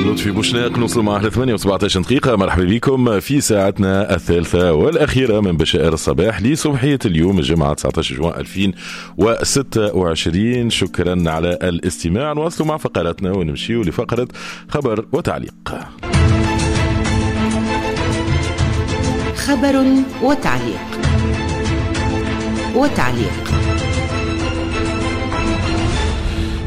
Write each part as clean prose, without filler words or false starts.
لطفي بوشناق، نوصل معه ل 8:17 دقيقة. مرحبا بكم في ساعتنا الثالثة والأخيرة من بشائر الصباح لصبحية اليوم الجمعة 19 جوان 2026. شكرا على الاستماع. نواصل مع فقراتنا ونمشي لفقرة خبر وتعليق. خبر وتعليق وتعليق.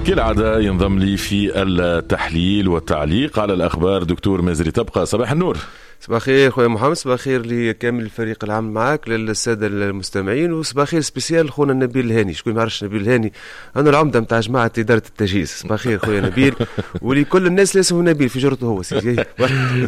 كالعادة ينضم لي في التحليل والتعليق على الأخبار دكتور مازري تبقى. صباح النور. صباح الخير خويا محمد، صباح الخير لكامل الفريق العام معاك، للسادة المستمعين، وصباح الخير spécial خونا نبيل الهاني. شكون ما يعرفش نبيل الهاني؟ انا العمدة نتاع جماعة ادارة التجهيز. صباح الخير خويا نبيل ولكل الناس اللي اسمه نبيل في جرته هو سيدي.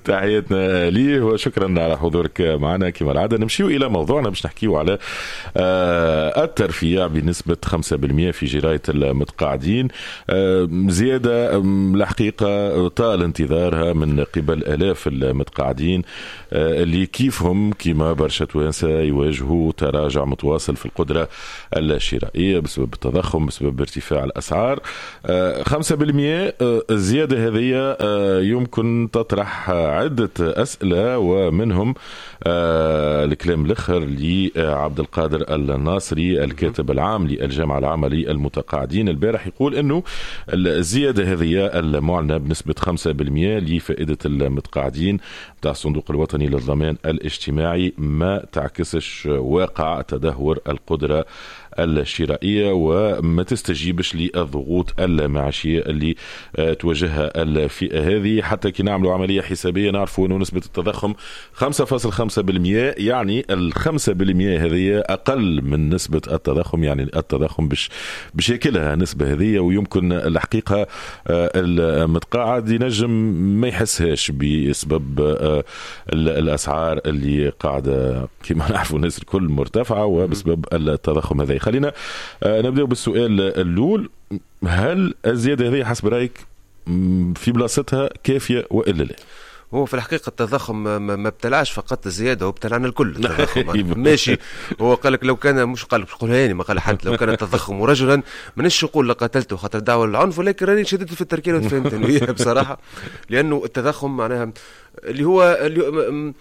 تحياتنا ليه وشكرا على حضورك معنا. كما العادة نمشيو الى موضوعنا باش نحكيو على الترفيع بنسبة 5% في جرايه المتقاعدين، زيادة الحقيقة طال انتظارها من قبل الاف المتقاعدين اللي كيفهم كما برشا توانسة يواجهوا تراجع متواصل في القدرة الشرائية بسبب التضخم، بسبب ارتفاع الأسعار. 5% الزيادة هذه يمكن تطرح عدة أسئلة، ومنهم الكلام الآخر لعبد القادر الناصري الكاتب العام للجامعة العامة للمتقاعدين البارح، يقول أنه الزيادة هذه المعلنة بنسبة 5% لفائدة المتقاعدين تاع الصندوق الوطني للضمان الاجتماعي ما تعكسش واقع تدهور القدرة الشرائية وما تستجيبش للضغوط المعيشية اللي تواجهها الفئة هذه. حتى كي نعملوا عملية حسابية نعرفوا أنه نسبة التضخم 5.5%، يعني 5% هذه أقل من نسبة التضخم، يعني التضخم باش ياكلها النسبة هذه، ويمكن الحقيقة المتقاعد ينجم ما يحسهاش بسبب الأسعار اللي قاعدة كما نعرفوا الناس الكل مرتفعة وبسبب التضخم هذا. خلينا نبدأ بالسؤال الأول، هل الزيادة هذه حسب رأيك في بلاصتها كافية وإلا لا؟ هو في الحقيقة التضخم ما ابتلعش فقط الزيادة، هو ابتلعنا الكل التضخم. ماشي، هو قال لك لو كان، مش قال لك يعني ما قال حد، لو كان التضخم رجلا مانيش نقول لقتلته خاطر دعوة للعنف، ولكن راني شددت في التركيبة وفهمت بصراحة، لأنه التضخم معناها اللي هو اللي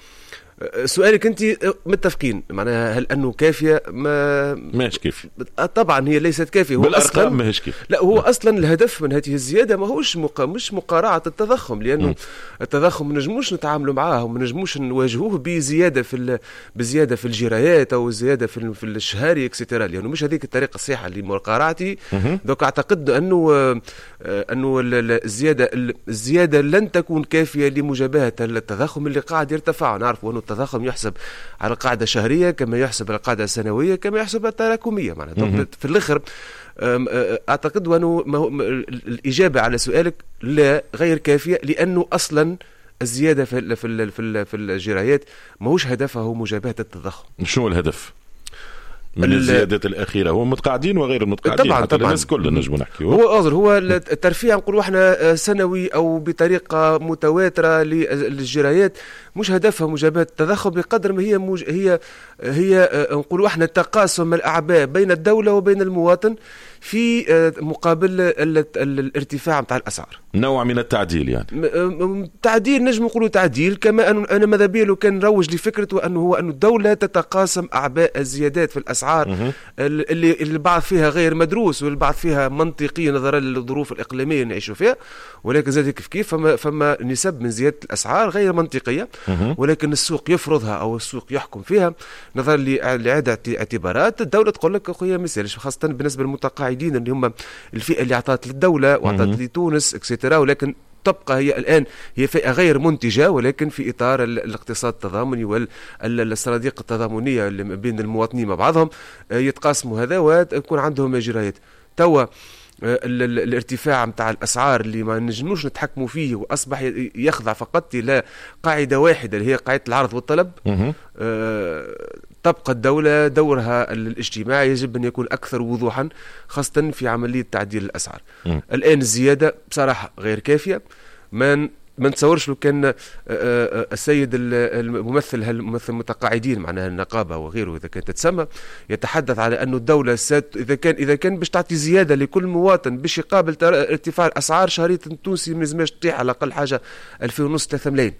سؤالك انت متفقين معناها هل انه كافيه؟ ما ماهيش كافيه طبعا، هي ليست كافيه. هو بالارقام ماهيش كافيه. لا، هو اصلا الهدف من هذه الزيادة ماهوش مش مقارعه التضخم، لانه التضخم ما نجموش نتعاملوا معاه وما نجموش نواجهوه بزيادة بزيادة في الجرايات او زيادة في الشهري et cetera، لانه مش هذيك الطريقة الصحيحة لمقارعته. donc اعتقد انه الزيادة لن تكون كافيه لمجابهه التضخم اللي قاعد يرتفع. نعرفوا انه التضخم يحسب على قاعدة شهرية كما يحسب على قاعدة سنوية كما يحسب على التراكمية معناها. في الآخر أعتقد أنه الإجابة على سؤالك لا، غير كافية، لأنه أصلا الزيادة في في في في الجرايات ماهوش هدفها هو مجابهة التضخم. شنو الهدف من الزيادات الأخيرة؟ هو متقاعدين وغير المتقاعدين، طبعا طبعا الناس كلنا نجمو نحكيو. هو الترفيع نقولوا احنا سنوي أو بطريقة متواترة للجرايات مش هدفها مجابهة التضخم بقدر ما هي هي نقولوا احنا تقاسم الأعباء بين الدولة وبين المواطن في مقابل الارتفاع نتاع الأسعار. نوع من التعديل، يعني تعديل، نجم نقولوا تعديل. كما أنا ماذا بيا لو كان نروج لفكرة أنه هو أن الدولة تتقاسم أعباء الزيادات في الأسعار اللي البعض فيها غير مدروس والبعض فيها منطقي نظرا للظروف الإقليمية اللي نعيشوا فيها، ولكن زاد كيف كيف فما نسب من زيادة الأسعار غير منطقية، ولكن السوق يفرضها أو السوق يحكم فيها نظرا لعدة اعتبارات. الدولة تقول لك أخويا ما يسالش، خاصة بالنسبة للمتقاعدين اللي هم الفئة اللي أعطت للدولة وأعطت لتونس et cetera، ولكن تبقى هي الآن هي فئة غير منتجة، ولكن في إطار الاقتصاد التضامني والصناديق التضامنية اللي بين المواطنين مع بعضهم يتقاسموا هذا ويكون عندهم جرايات. توا الارتفاع متاع الأسعار اللي ما نجموش نتحكموا فيه وأصبح يخضع فقط إلى قاعدة واحدة اللي هي قاعدة العرض والطلب. تبقى الدولة دورها الاجتماعي يجب أن يكون أكثر وضوحا، خاصة في عملية تعديل الأسعار. الآن الزيادة بصراحة غير كافية، ما ما نتصورش لو كان السيد الممثل الممثل المتقاعدين معناها النقابة وغيره اذا كانت تتسمى يتحدث على انه الدولة اذا كان باش تعطي زيادة لكل مواطن باش يقابل ارتفاع الاسعار، شهرية التونسي ما لازمش تطيح على الاقل حاجة 2500 3 ملايين،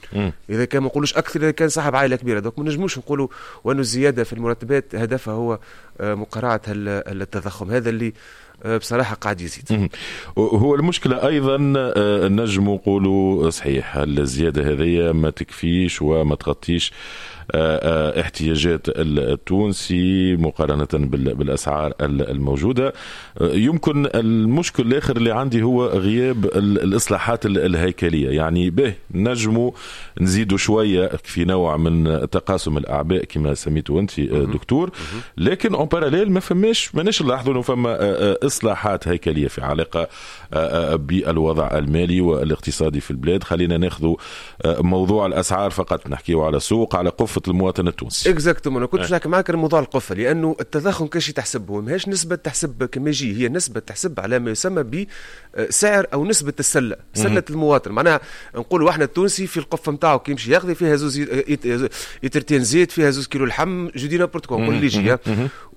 اذا كان ما نقولوش اكثر اذا كان صاحب عائلة كبيره. donc ما نجموش نقولوا وانه الزيادة في المرتبات هدفها هو مقارعه التضخم هذا اللي بصراحة قاعد يزيد. هو المشكلة ايضا نجم نقولوا صحيح الزيادة هذه ما تكفيش وما تغطيش احتياجات التونسي مقارنة بالأسعار الموجودة. يمكن المشكل الآخر اللي عندي هو غياب الإصلاحات الهيكلية، يعني به نجموا نزيدوا شوية في نوع من تقاسم الأعباء كما سميته أنت دكتور، لكن en parallèle ما فماش، ماناش نلاحظوا انه فما اصلاحات هيكلية في علاقة بالوضع المالي والاقتصادي في البلاد. خلينا ناخذ موضوع الاسعار فقط، نحكيه على سوق على قفة المواطن التونسي. exactement، انا كنت نحكي معك على موضوع القفه، لانه التضخم كاش تحسبه ماهيش نسبه تحسب كما يجي، هي نسبه تحسب على ما يسمى بسعر او نسبه السله، سله المواطن. معناها نقولوا احنا التونسي في القفه نتاعو كي يمشي ياخذ فيها زوز يترتين زيت، فيها 2 كيلو لحم، je dis n'importe quoi، اللي يجي.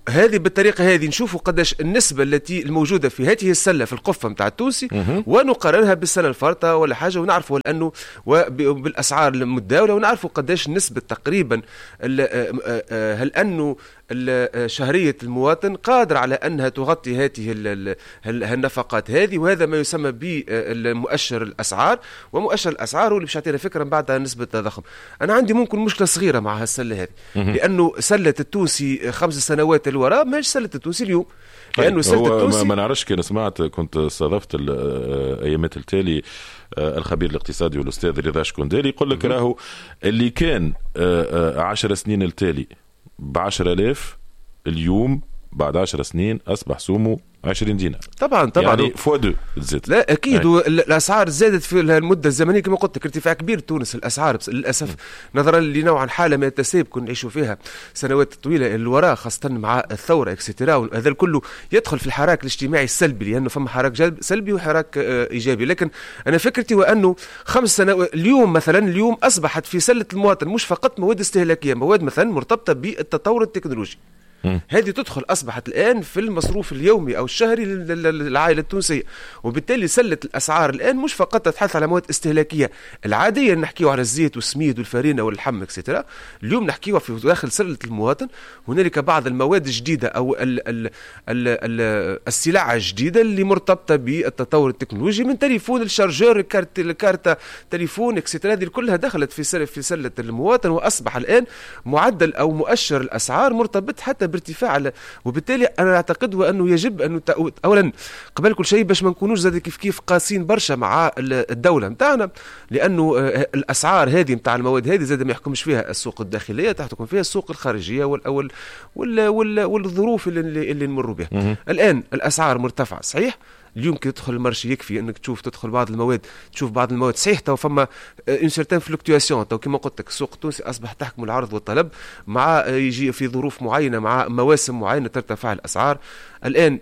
هذه بالطريقة هذه نشوفوا قداش النسبة التي الموجودة في هذه السلة في القفه نتاع التونسي ونقارنها بالسنة الفارطه ولا حاجه، ونعرفوا انه وبالاسعار المتداوله، ونعرفوا قداش النسبة تقريبا، هل انه شهرية المواطن قادرة على انها تغطي هذه النفقات هذه. وهذا ما يسمى بمؤشر الاسعار، ومؤشر الاسعار هو اللي باش يعطينا فكرة من بعد نسبه التضخم. انا عندي ممكن مشكلة صغيرة مع هالسله هذه، لانه سله التونسي 5 سنوات الوراء ماهيش سله التونسي اليوم. لانه سله التونسي ما نعرفش كان سمعت، كنت استضفت الايامات التالي الخبير الاقتصادي والاستاذ رضا شكندالي، يقول لك راهو اللي كان 10 سنين التالي ب 10000، اليوم بعد 10 سنين اصبح سومه 20 دينار. طبعا. يعني fois deux تزيد. لا اكيد، الاسعار زادت في المدة الزمنية كما قلت لك، ارتفاع كبير تونس الاسعار للاسف، نظرا لنوع حاله من التسيب كنا نعيشوا فيها سنوات طويلة الوراء، خاصة مع الثورة et cetera. هذا الكل يدخل في الحراك الاجتماعي السلبي، لانه فما حراك سلبي وحراك ايجابي. لكن انا فكرتي هو انه 5 سنوات اليوم مثلا، اليوم اصبحت في سله المواطن مش فقط مواد استهلاكيه، مواد مثلا مرتبطة بالتطور التكنولوجي، هذه تدخل اصبحت الان في المصروف اليومي او الشهري للعائلة التونسيه. وبالتالي سله الاسعار الان مش فقط تتحدث على مواد استهلاكية العاديه، نحكيو على الزيت والسميد والفارينه واللحم et cetera. اليوم نحكيو في داخل سله المواطن هنالك بعض المواد الجديدة او ال ال ال ال السلع الجديدة اللي مرتبطة بالتطور التكنولوجي، من تليفون ال chargeur، carte ال carte téléphone et cetera، هذه كلها دخلت في سله المواطن. واصبح الان معدل او مؤشر الاسعار مرتبط حتى بارتفاع. وبالتالي انا اعتقد انه يجب ان اولا قبل كل شيء باش ما نكونوش زاد كيف كيف قاسين برشا مع الدولة نتاعنا، لانه الاسعار هذه نتاع المواد هذه زاد ما يحكمش فيها السوق الداخليه، تحكم فيها السوق الخارجية والظروف اللي نمر بها الان. الاسعار مرتفعة صحيح، اليوم كي تدخل ال marché يكفي انك تشوف، تدخل بعض المواد، تشوف بعض المواد، صحيح تو فما une certaine fluctuation. تو كيما قلت لك السوق التونسي اصبح تحكم العرض والطلب، مع يجي في ظروف معينه، مع مواسم معينة ترتفع الاسعار. الان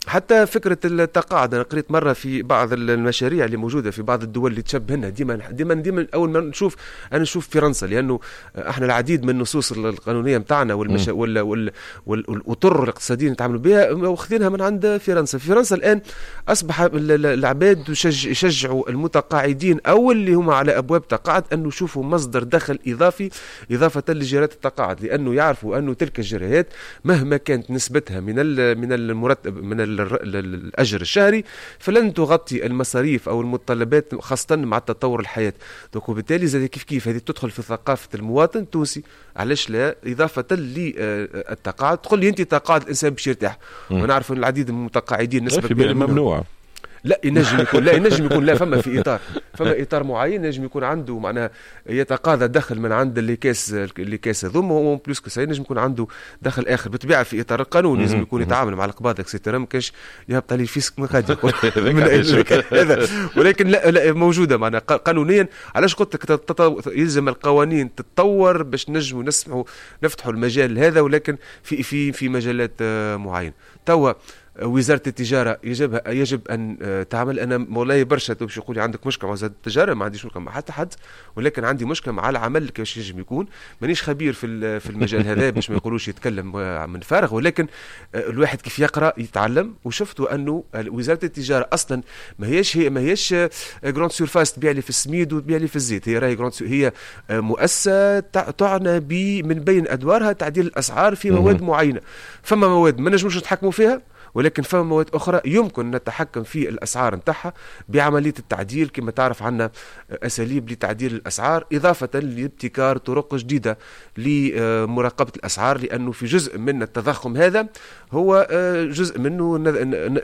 حتى فكرة التقاعد، أنا قريت مرة في بعض المشاريع اللي موجودة في بعض الدول اللي تشبهنا، ديما ديما ديما أول ما نشوف أنا نشوف فرنسا، لأنه احنا العديد من النصوص القانونية نتاعنا والأطر الاقتصادية اللي نتعاملوا بها واخذينها من عند فرنسا. في فرنسا الآن أصبح العباد يشجعوا المتقاعدين أو اللي هم على أبواب تقاعد أنه يشوفوا مصدر دخل إضافي إضافة لجرايات التقاعد، لأنه يعرفوا أنه تلك الجرايات مهما كانت نسبتها من المرتب، من الاجر الشهري، فلن تغطي المصاريف او المتطلبات، خاصة مع تطور الحياه. donc وبالتالي زاد كيف كيف هذه تدخل في ثقافة المواطن التونسي، علاش لا اضافه للتقاعد؟ تقول لي انت تقاعد الانسان باش يرتاح، ونعرف ان العديد من المتقاعدين نسبه كبيرة ممنوع. لا ينجم يكون، لا ينجم يكون، لا فما في اطار، فما اطار معين ينجم يكون عنده، معناها يتقاضى دخل من عند les caisses هذوما، en plus que ça ينجم يكون عنده دخل اخر، بالطبيعة في اطار القانون، لازم يكون يتعامل مع القباضه et cetera، ما كانش يهبط عليه fisc من غادي هذا. ولكن لا لا موجودة معناها قانونيا. علاش قلت لك يلزم القوانين تتطور باش نجموا نسمحوا نفتحوا المجال هذا، ولكن في مجالات معينه. توا وزارة التجارة يجب ان تعمل. انا والله برشا باش يقول لي عندك مشكلة مع وزارة التجاره، ما عنديش مشكلة مع حتى حد، ولكن عندي مشكلة مع العمل كيفاش ينجم يكون. مانيش خبير في المجال هذا باش ما يقولوش يتكلم من فارغ، ولكن الواحد كيف يقرا يتعلم. وشفتوا انه وزارة التجارة اصلا ما هيش grande surface تبيع لي في السميد وتبيع لي في الزيت. هي راهي grande، هي مؤسسة تعنى من بين ادوارها تعديل الاسعار في مواد معينه. فما مواد ما نجموش نتحكموا فيها، ولكن فما مواد اخرى يمكن نتحكم في الاسعار نتاعها بعملية التعديل. كما تعرف عندنا اساليب لتعديل الاسعار، اضافه لابتكار طرق جديدة لمراقبه الاسعار، لانه في جزء من التضخم هذا هو جزء منه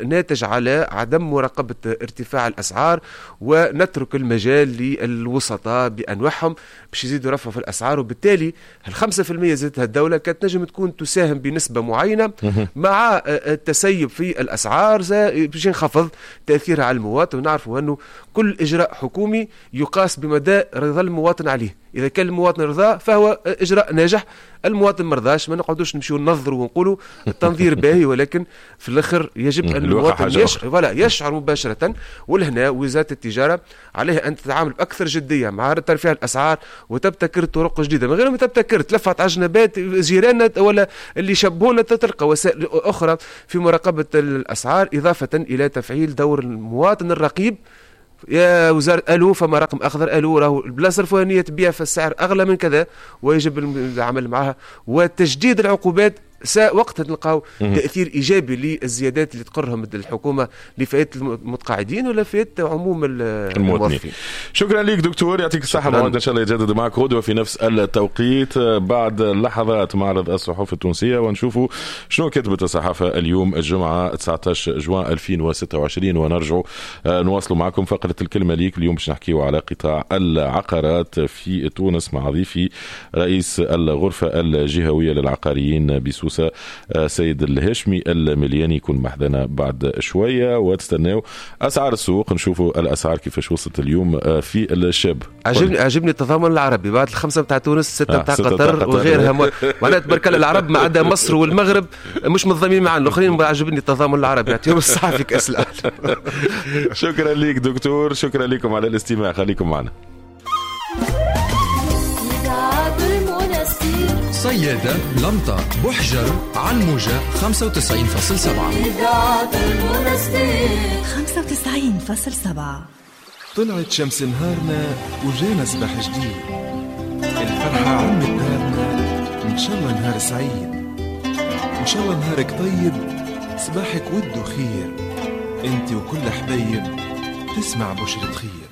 ناتج على عدم مراقبة ارتفاع الاسعار، ونترك المجال للوسطاء بانواعهم باش يزيدوا رفعوا في الاسعار. وبالتالي ال5% زادتها الدولة كانت نجم تكون تساهم بنسبة معينة مع التسيب في الاسعار باش ينخفض تاثيرها على المواطن. ونعرفوا انه كل اجراء حكومي يقاس بمدى رضا المواطن عليه. اذا كان المواطن رضا فهو اجراء ناجح، المواطن مرضاش ما نقعدوش نمشيو ننظروا ونقولوا التنظير باهي، ولكن في الاخر يجب ان المواطن يشعر، voilà، يشعر مباشره. ولهنا وزارة التجارة عليها ان تتعامل باكثر جدية مع ترفيع الاسعار وتبتكر طرق جديده، من غير ما تبتكر تلفت عجنبات جيراننا ولا اللي شبهونا، تلقى وسائل اخرى في مراقبة الاسعار، اضافه الى تفعيل دور المواطن الرقيب. يا وزارة الو، فما رقم اخضر، الو، راهو البلاصة الفلانية تبيع في السعر اغلى من كذا، ويجب العمل معها وتشديد العقوبات. وقتها نلقاو تاثير ايجابي للزيادات اللي تقرهم الحكومة لفائدة المتقاعدين ولا فائدة عموم الموظفين. شكرا لك دكتور، يعطيك الصحه. موعد ان شاء الله يتجدد معك غدوه في نفس التوقيت. بعد لحظات معرض الصحف التونسية ونشوفوا شنو كتبت الصحافة اليوم الجمعة 19 جوان 2026، ونرجعوا نواصلوا معكم فقره الكلمة ليك. اليوم باش نحكيو على قطاع العقارات في تونس مع ضيفي رئيس الغرفة الجهوية للعقاريين بسوسه سيد الهاشمي الملياني، يكون محذانا بعد شويه. وتستناو اسعار السوق، نشوفوا الاسعار كيفاش وصلت اليوم في الشاب. عجبني التضامن العربي، بعد الخمسة نتاع تونس، ستة نتاع قطر وغيرها، معناها تبارك الله العرب ما عدا مصر والمغرب مش متضامنين معنا، الاخرين. عجبني التضامن العربي، يعطيهم الصحة في كاس العالم. شكرا لك دكتور، شكرا لكم على الاستماع، خليكم معنا. صيادة لمطة بحجر على الموجة 95.7. إذاعة المنستير. 95.7. طلعت شمس نهارنا وجانا صباح جديد، الفرحة عمت دارنا، إن شاء الله نهار سعيد، إن شاء الله نهارك طيب، صباحك ود وخير، انت وكل حبايب تسمع بشرة خير.